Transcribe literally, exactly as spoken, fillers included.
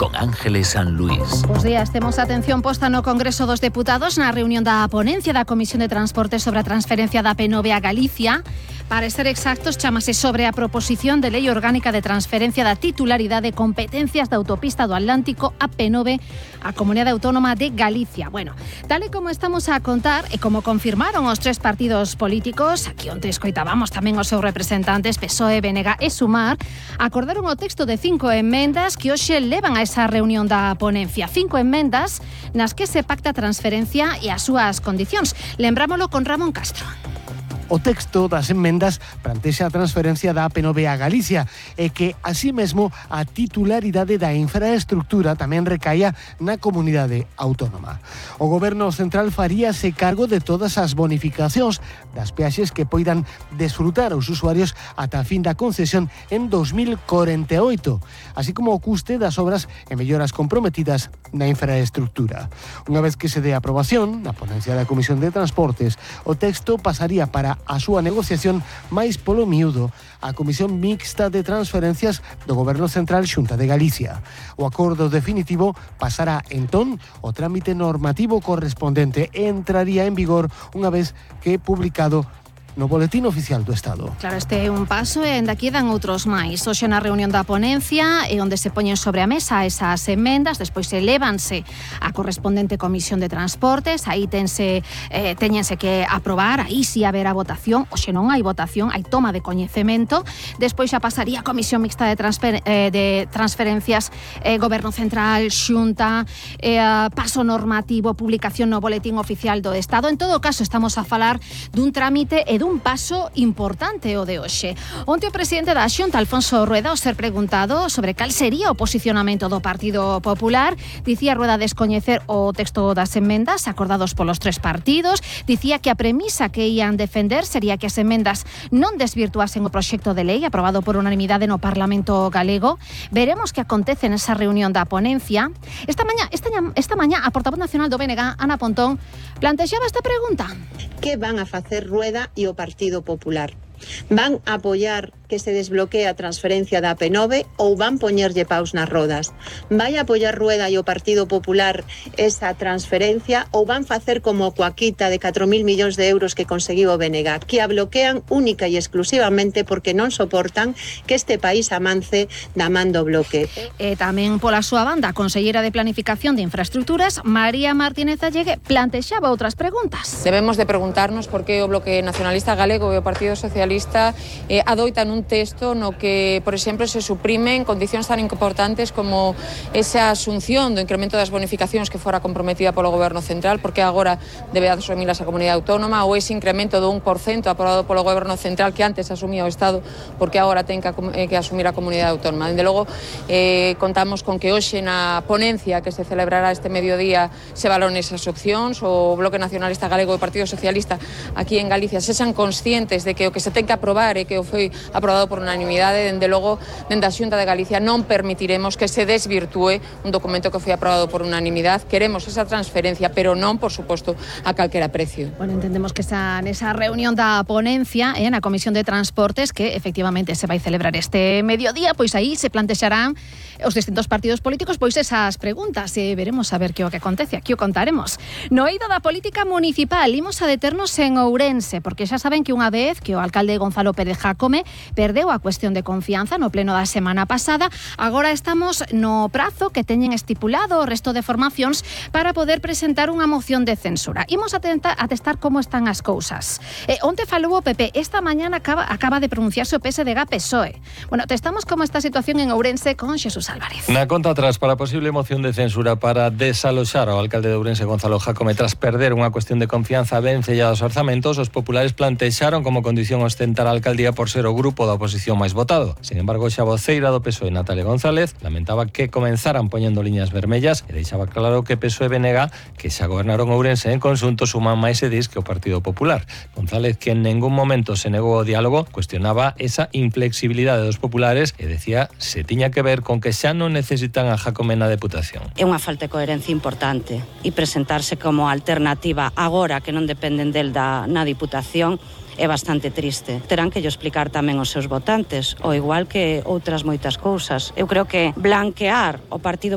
con Ángeles San Luis. Bos días, temos atención posta no Congreso dos Deputados na reunión da ponencia da Comisión de Transporte sobre a transferencia da P nove a Galicia. Para ser exactos, chámase sobre a proposición de lei orgánica de transferencia da titularidade de competencias da autopista do Atlántico a P nove a Comunidade Autónoma de Galicia. Bueno, tal e como estamos a contar e como confirmaron os tres partidos políticos, aquí onte escoitábamos tamén os seus representantes P S O E, B N G e Sumar, acordaron o texto de cinco enmendas que hoxe levan a esa reunión da ponencia. Cinco enmendas nas que se pacta a transferencia e as súas condicións. Lembrámolo con Ramón Castro. O texto das enmendas plantexa a transferencia da P nove a Galicia e que, así mesmo, a titularidade da infraestructura tamén recaia na comunidade autónoma. O Goberno central faríase cargo de todas as bonificacións das peaxes que poidan desfrutar os usuarios ata a fin da concesión en dos mil corenta e oito, así como o custe das obras e melloras comprometidas na infraestructura. Unha vez que se dé aprobación na ponencia da Comisión de Transportes, o texto pasaría para a súa negociación máis polo miúdo a Comisión Mixta de Transferencias do Goberno Central Xunta de Galicia. O acordo definitivo pasará entón o trámite normativo correspondente e entraría en vigor unha vez que publicado no Boletín Oficial do Estado. Claro, este é un paso e ainda quedan outros máis. Hoxe na reunión da ponencia e onde se poñen sobre a mesa esas enmendas, despois elévanse a correspondente Comisión de Transportes, aí tense, eh, teñense que aprobar, aí si haberá votación, hoxe non hai votación, hai toma de coñecemento, despois xa pasaría a Comisión Mixta de, transfer, eh, de Transferencias, eh, Goberno Central, Xunta, eh, paso normativo, publicación no Boletín Oficial do Estado. En todo caso, estamos a falar dun trámite e un paso importante o de hoxe. Onte o presidente da Xunta, Alfonso Rueda, ao ser preguntado sobre cal sería o posicionamento do Partido Popular, dicía Rueda descoñecer o texto das enmendas acordados polos tres partidos, dicía que a premisa que ían defender sería que as enmendas non desvirtuasen o proxecto de lei aprobado por unanimidade no Parlamento galego. Veremos que acontece nesa reunión da ponencia. Esta mañá, esta, esta mañá a portavoz nacional do B N G, Ana Pontón, plantexaba esta pregunta. Que van a facer Rueda e o Partido Popular? Van a apoiar que se desbloquee a transferencia da P nove ou van poñerlle paus nas rodas? Vai a apoiar Rueda e o Partido Popular esa transferencia ou van facer como coa quita de catro mil millóns de euros que conseguiu o B N G, que a bloquean única e exclusivamente porque non soportan que este país amance da man do bloque? E tamén pola súa banda, a conselleira de Planificación de Infraestructuras, María Martínez Allegue, plantexaba outras preguntas. Debemos de preguntarnos por que o Bloque Nacionalista Galego e o Partido Socialista eh, adoitan un texto no que, por exemplo, se suprimen condicións tan importantes como esa asunción do incremento das bonificacións que fora comprometida polo Goberno Central, porque agora debe asumilas a Comunidade Autónoma, ou ese incremento do un por cento aprobado polo Goberno Central que antes asumía o Estado, porque agora ten que, eh, que asumir a Comunidade Autónoma. Dende logo, eh, contamos con que hoxe na ponencia que se celebrará este mediodía se valoren esas opcións. O Bloque Nacionalista Galego e o Partido Socialista aquí en Galicia sexan conscientes de que o que se ten que aprobar e que o foi aprobado por unanimidade. Dende logo, dende a Xunta de Galicia non permitiremos que se desvirtúe un documento que foi aprobado por unanimidade. Queremos esa transferencia, pero non, por suposto, a calquera precio. Bueno, entendemos que esa, nesa reunión da ponencia eh, na Comisión de Transportes, que efectivamente se vai celebrar este mediodía, pois aí se plantexarán os distintos partidos políticos pois esas preguntas e veremos a ver que o que acontece, aquí o contaremos. No eido da política municipal, imos a deternos en Ourense, porque xa saben que unha vez que o alcalde Gonzalo Pérez Jácome perdeu a cuestión de confianza no pleno da semana pasada, agora estamos no prazo que teñen estipulado o resto de formacións para poder presentar unha moción de censura. Imos a, tenta, a testar como están as cousas. Eh, onte falou o P P, esta mañana acaba, acaba de pronunciarse o P S D G P S O E. Bueno, testamos como está a situación en Ourense con Xesús Álvarez. Na conta atrás para a posible moción de censura para desaloxar ao alcalde de Ourense Gonzalo Jácome tras perder unha cuestión de confianza vencellados os orzamentos, os populares plantexaron como condición ostentar a alcaldía por ser o grupo da oposición máis votado. Sin embargo, xa voceira do P S O E, Natalia González, lamentaba que comenzaran poñendo liñas vermellas e deixaba claro que P S O E e B N G, que xa gobernaron Ourense en conxunto, suman máis edís que o Partido Popular. González, que en ningún momento se negou ao diálogo, cuestionaba esa inflexibilidade dos populares e decía se tiña que ver con que xa non necesitan a Jácome na Deputación. É unha falta de coherencia importante e presentarse como alternativa agora que non dependen del da, na Diputación é bastante triste. Terán que yo explicar tamén aos seus votantes, ao igual que outras moitas cousas. Eu creo que blanquear o Partido